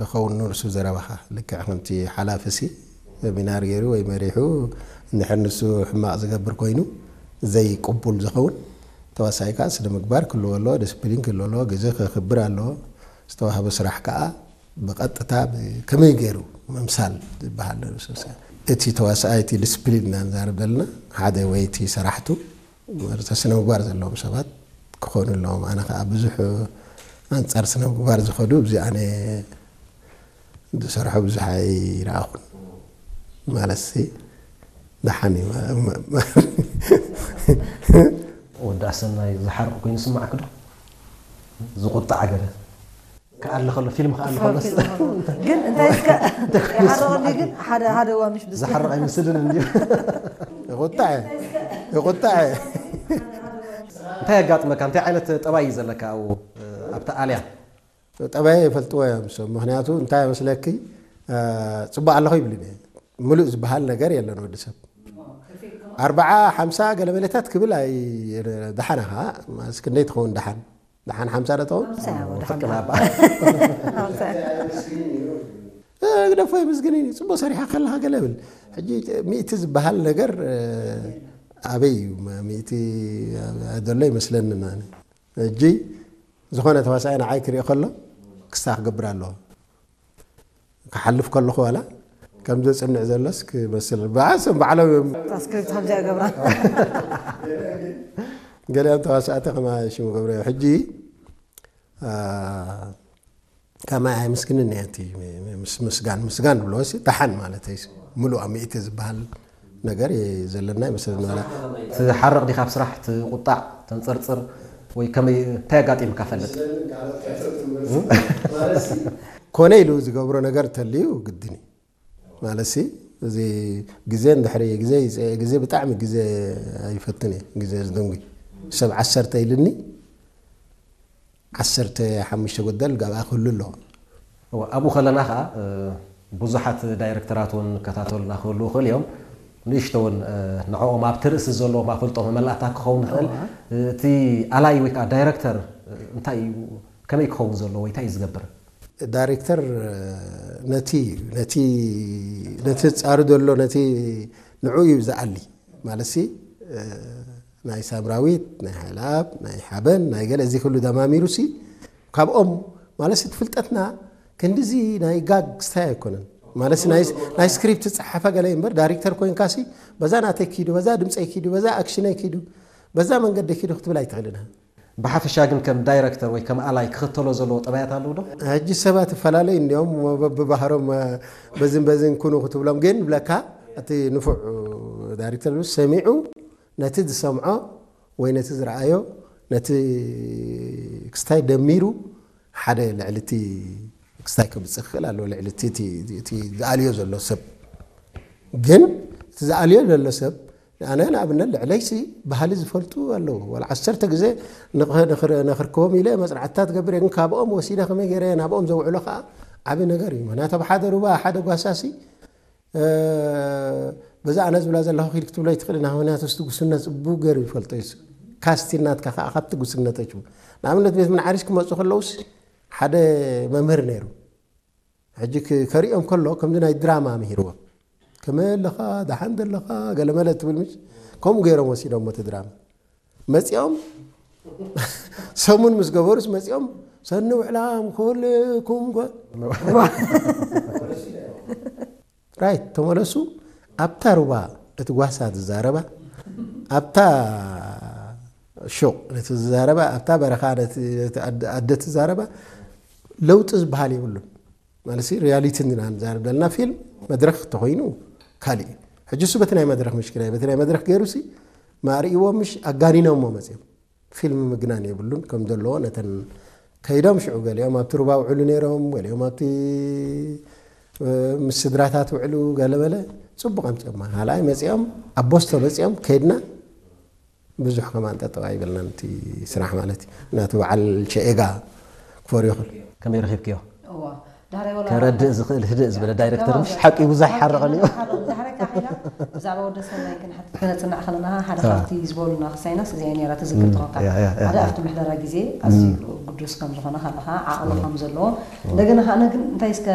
ክኸውን ንሱ ዘረባኻ። ልክዕ ከምቲ ሓላፊ ሲ ሰሚናር ገይሩ ወይ መሪሑ እንድሕር ንሱ ሕማቕ ዝገብር ኮይኑ ዘይቅቡል ዝኸውን፣ ተዋሳኣይ ከዓ ስነ ምግባር ክህልዎ ኣለዎ፣ ዲስፕሊን ክህልዎ ኣለዎ፣ ግዜ ከኽብር ኣለዎ። ዝተዋህበ ስራሕ ከዓ ብቐጥታ ብ-፣ ከመይ ገይሩ ምምሳል ዝበሃል ንሱ ሲ። እቲ ተዋሳኣይ እቲ ዲስፕሊን ኢና ንዛረብ ዘለና፣ ሓደ ወይ እቲ ሰራሕቱ ማለት ስነ ምግባር ዘለዎም ሰባት ክኾኑ ኣለዎም። ኣነ ከዓ ብዙሕ ኣንጻር ስነ ምግባር ዝኸዱ ኣብዚ ኣነ ዝሰርሖ ብዙሕ ኣይረኣኹን። ማለት ሲ ደሓን እዩ። ወዲ ኣሰናይ ዝሓርቕ ኮይኑ ዝስማዓክ ዶ? ዝቑጣዕ ገለ ክኣሊ ከሎ፣ ፊልም ክኣሊ ከሎ። ፊልም ከሎ። ግን እንታይ እስከ ይሓርቐኒ ግን ሓደ፣ ሓደ እዋን ምሽ ብስ ዝሓርቕ ኣይመስልን እንድዩ። ይቑጣዕ፣ ይቑጣዕ። እንታይ የጋጥመካ? እንታይ ዓይነት ጠባይ እዩ ዘለካ ኣብኡ፣ ኣብታ ኣልያ? ጠባይ ይፈልጥዎ እዮም ሰብ። ምኽንያቱ እንታይ መስለኪ፣ እ፣ ጽቡቕ ኣለኹ ይብልን እየ። ምሉእ ዝበሃል ነገር የለን ወዲ ሰብ። ኣርብዓ፣ ሓምሳ ገለ መለታት ክብል ኣይ-፣ ደሓና ኸኣ፣ እስኪ ክንደይ ትኸውን ደሓን? ደሓን ሓምሳ ዶ ትኸውን? ሓምሳ እያ፣ ወደ ፍቅር ሓምሳ። ናባ። ሓምሳ። እ፣ ግደፎ የመስግን እዩ። ጽቡቕ ሰሪሓ ከለኻ ገለ ብል። ሕጂ ሚእቲ ዝበሃል ነገር፣ እ፣ ኣበይ እዩ? ሚእቲ ዘሎ ይመስለኒ ኣነ። ሕጂ ዝኾነ ተዋሳኣይ ንዓይ ክርኢ ከሎ ክስታ ክገብር ኣለዎ። ክሓልፍ ከለኹ ዋላ ከም ዘጽንዕ ዘሎስ ክመስል። ብዓሶም ባዕሎም እዮም። እታ ስክሪፕት ከምዚኣ ይገብራ። ገሊኦም ተዋሳእቲ ከማ ሽሙ ገብረ ሕጂ፣ አ፣ ከማይ ኣይምስግንን እየ እቲ ምስ-፣ ምስጋን፣ ምስጋን ብሎ ሲ ደሓን ማለት እዩ። ምሉእ ሚእቲ ዝበሃል ነገር የ-፣ ዘለና ይመስለኒ። ዋላ ትሓርቕ ዲኻ ኣብ ስራሕ፣ ትቁጣዕ፣ ተንጸርጽር ወይ ከመይ፣ እንታይ ኣጋጢምካ ፈልጥ? ኮነ ኢሉ ዝገብሮ ነገር ተልዩ ግድን እዩ። ማለት ሲ፣ እዚ ግዜ እንድሕሪ ግዜ ይጸ-፣ ግዜ ብጣዕሚ ግዜ ኣይፈትን እየ። ግዜ ዝድንጉ። ሰብ ዓሰርተ ኢልኒ፣ ዓሰርተ ሓሙሽተ ጎደል ጋብኣ ክህሉ ኣለዎ። እወ፣ ኣብኡ ከለና ኸኣ፣ እ፣ ብዙሓት ዳይሬክተራት እውን ይከታተሉና ክህልዉ ይኽእሉ እዮም። ንእሽቶ እውን፣ እ፣ ንዕኦም ኣብቲ ርእሲ ዘለዎም ኣፍልጦ መመላእታ ክኸውን ይኽእል። እወ። እ፣ እቲ ኣላይ ወይ ከዓ ዳይሬክተር፣ እ፣ እንታይ እዩ፣ ከመይ ክኸውን ዘለዎ ወይ እንታይ እዩ ዝገብር? ዳይሬክተር፣ እ፣ ነቲ፣ ነቲ፣ ነቲ ጻሩ ዘሎ፣ ነቲ ንዕኡ እዩ ዝኣሊ። ማለትሲ፣ እ፣ ናይ ሳምራዊት፣ ናይ ሃይለኣብ፣ ናይ ሓበን፣ ናይ ገለ፣ እዚ ኩሉ ደማሚሩሲ፣ ካብኦም፣ ማለትሲ፣ እቲ ፍልጠትና ክንድዚ ናይ ጋግ ስታይ ኣይኮነን። ማለትሲ፣ ናይ፣ ናይ ስክሪፕት ዝጸሓፈ ገለ እምበር፣ ዳይሬክተር ኮይንካሲ፣ በዛ ናተይ ኪዱ፣ በዛ ድምጸይ ኪዱ፣ በዛ ኣክሽነይ ኪዱ፣ በዛ መንገዲ ኪዱ ክትብል ኣይትኽእልን። ብሓፈሻ ግን ከም ዳይረክተር ወይ ከም ኣላይ ክኽተሎ ዘለዎ ጠባያት ኣለዉ ዶ? ሕጂ ሰባት ይፈላለዩ እንዲዮም፣ በብባህሮም፣ በዝን በዝን ኩኑ ክትብሎም፣ ግን ብለካ እቲ ንፉዕ ዳይረክተር ሰሚዑ ነቲ ዝሰምዖ ወይ ነቲ ዝረኣዮ፣ ነቲ ክስታይ ደሚሩ ሓደ ልዕሊ እቲ ክስታይ ከምጽእ ክኽእል ኣለዎ፣ ልዕሊ እቲ፣ እቲ፣ እቲ ዝኣልዮ ዘሎ ሰብ። ግን እቲ ዝኣልዮ ዘሎ ሰብ፣ ኣነ ንኣብነት ልዕለይሲ ባህሊ ዝፈልጡ ኣለዉ። ዋላ ዓሰርተ ግዜ ንኽ-፣ ንኽር-፣ ንኽርከቦም ኢለ መጽናዕትታት ገብር እየ፣ ግን ካብኦም ወሲደ ከመይ ገይረ ናብኦም ዘውዕሎ ከኣ ዓቢ ነገር እዩ። ምኽንያቱ ኣብ ሓደ ሩባ ሓደ ጓሳሲ፣ እ፣ በዛ ኣነ ዝብላ ዘለኹ ኪድ ክትብሎ ኣይትኽእልን፣ ምኽንያቱ እስቲ ጉስነት ጽቡቕ ገይሩ ይፈልጦ እዩ። ካስቲ ናትካ ከኣ ካብቲ ጉስነቶች። ንኣብነት ቤት ምንዓሪሽ ክመጹ ከለዉስ ሓደ መምህር ነይሩ። ሕጂ ክ-፣ ከርእዮም ከሎ ከምዚ ናይ ድራማ ምሂርዎም። ከመይ ኣለኻ? ደሓን ዘለኻ? ገለመለ ትብል ምሽ? ከምኡ ገይሮም ወሲዶም እቲ ድራማ። መጺኦም ሰሙን ምስ ገበሩስ መጺኦም ሰኒ ውዕላም ኩልኩም ጎ-፣ ራይት ተመለሱ። ኣብታ ሩባ እቲ ጓሳ ዝዛረባ፣ ኣብታ ሹቕ ነቲ ዝዛረባ፣ ኣብታ በረኻ ነቲ፣ ነቲ ኣደ፣ ኣደ ትዛረባ ለውጢ ዝበሃል የብሉን። ማለት ሲ ሪያሊቲ ኢና ንዛረብ ዘለና። ፊልም መድረኽ ተኾይኑ ካልእ እዩ። ሕጂ እሱ በቲ ናይ መድረኽ ምሽክላ እዩ። በቲ ናይ መድረኽ ገይሩ ሲ ማርእይዎ ምሽ ኣጋኒኖሞ መጽዮም። ፊልም ምግናን የብሉን። ከም ዘለዎ ነተን ከይዶም ሽዑ ገሊኦም ኣብቲ ሩባ ውዕሉ ነይሮም፣ ገሊኦም ኣብቲ፣ እ፣ ምስ ስድራታት ውዕሉ ገለ በለ ጽቡቕ ኣምጽኦማ። ካልኣይ መጽኦም ኣብ ቦስቶ መጽኦም ከይድና ብዙሕ ከማን ጠጠው ኣይበልናን እቲ ስራሕ ማለት እዩ። ናቱ በዓል ሸኤጋ ክፈርዮ ይኽእል። ከመይ ረኺብክዮ? እዋ፣ ዳሕራይ ወላ ከረድእ ዝኽእል ህድእ ዝበለ ዳይረክተር ምሽ ሓቂ ብዙሕ ይሓርቐን እዩ። ዳሕራይ ካሒላ ብዛዕባ ወደ ሰናይ ክንሓትት ከነጽናዕ ከለና ሓደ ካብቲ ዝበሉና ክሳይናስ እዚኣ ነይራ ትዝክር ትኾንካ። ያ፣ ያ፣ ያ፣ ሓደ ያ። ኣብቲ ምሕደራ ግዜ ኣዝዩ ግዱስ ከም ዝኾነ ከለኻ ዓቕሚ ከም ዘለዎ እንደገና ከኣ ግን እንታይ እስከ